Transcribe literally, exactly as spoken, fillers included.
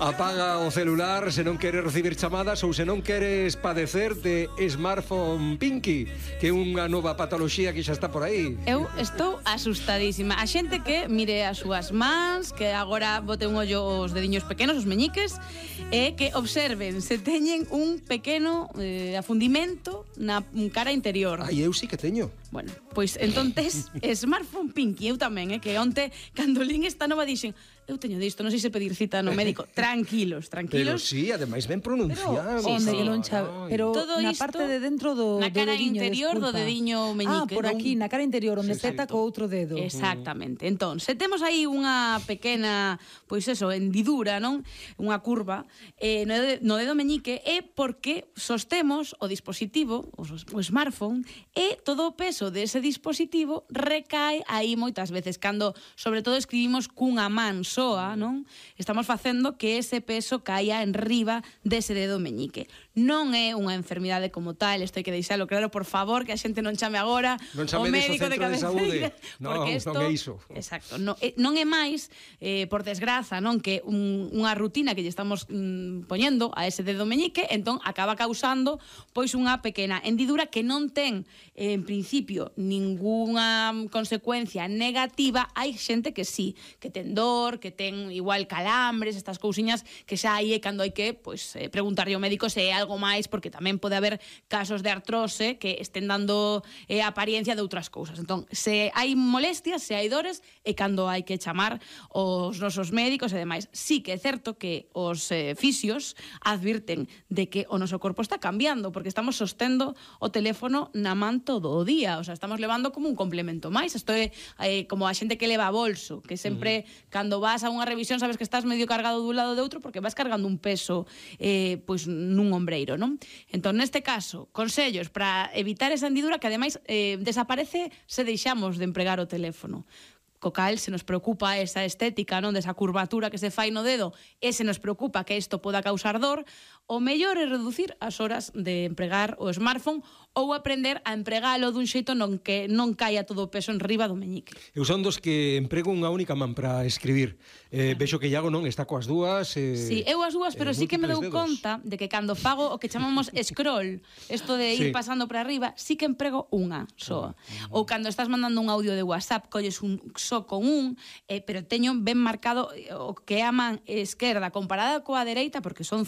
Apaga o celular se non queres recibir chamadas ou se non queres padecer de smartphone pinky, que é unha nova patoloxía que xa está por aí. Eu estou asustadísima. A xente que mire as súas mans, que agora bote un ollo os dediños pequenos, os meñiques, e que observen se teñen un pequeno eh, afundimento na cara interior. Ai, eu sí que teño. Bueno, pois entonces smartphone pinky, eu tamén, eh, que onte cando lín esta nova dixen, eu teño disto, non sei se pedir cita no médico. Tranquilos, tranquilos. Pero sí, ademais ben pronunciado. Pero, onde que non cha... Pero todo na isto, parte de dentro do, na cara do dediño, interior desculpa. do dediño meñique. Ah, por aquí, na cara interior, onde sí, peta co outro dedo. Exactamente. Entón, se temos aí unha pequena, pois eso, hendidura, non? Unha curva eh, no, dedo, no dedo meñique, é porque sostemos o dispositivo, o, o smartphone, e todo o peso dese dispositivo recae aí moitas veces. Cando, sobre todo, escribimos cunha man soa, non? Estamos facendo que ese peso caia en riba dese dedo meñique. Non é unha enfermidade como tal, isto hai que deixalo claro, por favor, que a xente non chame agora non o médico de cabeceira. Non, esto, non é iso. Exacto, non é, non é máis, eh, por desgraza, non que un, unha rutina que lle estamos mm, poñendo a ese dedo meñique, entón acaba causando pois unha pequena hendidura que non ten, eh, en principio, ningunha consecuencia negativa. Hai xente que sí, que ten dor, que ten igual calambres, estas cousiñas que xa aí é cando hai que pois, eh, preguntarlle ao médico se é algo máis, porque tamén pode haber casos de artrose que estén dando eh, apariencia de outras cousas. Entón, se hai molestias, se hai dores, é cando hai que chamar os nosos médicos e demais. Sí que é certo que os eh, fisios advirten de que o noso corpo está cambiando, porque estamos sostendo o teléfono na man todo o día, o sea, estamos levando como un complemento máis. Isto é eh, como a xente que leva bolso, que sempre, uh-huh, cando vas a unha revisión sabes que estás medio cargado dun lado de outro porque vas cargando un peso eh, pois nun ombreiro, non? Entón, neste caso, consellos para evitar esa hendidura que ademais eh, desaparece se deixamos de empregar o teléfono. Co cal se nos preocupa esa estética, non, desa curvatura que se fai no dedo, e se nos preocupa que isto poda causar dor, o mellor é reducir as horas de empregar o smartphone ou aprender a empregalo dun xeito non que non caia todo o peso en riba do meñique. Eu son dos que emprego unha única man para escribir. Eh, vexo que Iago non está coas dúas. Eh, sí, eu as dúas, pero eh, sí que me dou dedos. conta de que cando fago o que chamamos scroll, isto de ir sí. pasando para arriba, sí que emprego unha soa. Uh-huh. Ou cando estás mandando un audio de WhatsApp, colles un só con un, eh, pero teño ben marcado o que é a man esquerda comparada coa dereita, porque son